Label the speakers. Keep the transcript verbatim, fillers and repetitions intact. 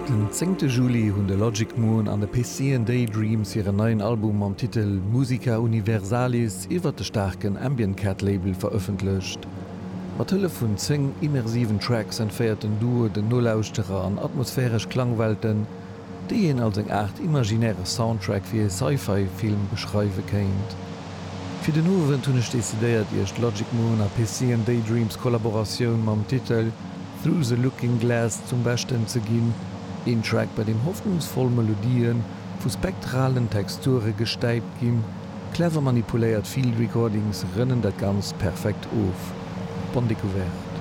Speaker 1: Den zéngte Juli hunn de Logic Moon an de Piscean Daydreams hiren neien Album mam Titel Musica Universalis iwwert de staarken Ambient Cat Label verëffentlecht. Mat Hëllef vun zéng immersiven Tracks entféiert den Duo den Nolauschterer an atmosphäresch Klangwelten, déi een als eng Aart imaginäre Soundtrack fir ee Sci-Fi-Film beschreiwe kéint. Fir den Owend hunn ech decidéiert, iech d'Logic Moon a Piscean Daydreams Kollaboratioun mam Titel Through the Looking Glass zum Beschten ze ginn, een Track, bei deem hoffnungsvoll Melodië vu spektralen Texture gestäipt ginn. Clever manipuléiert Field Recordings rënnen dat Ganzt perfekt of. Bonne découverte!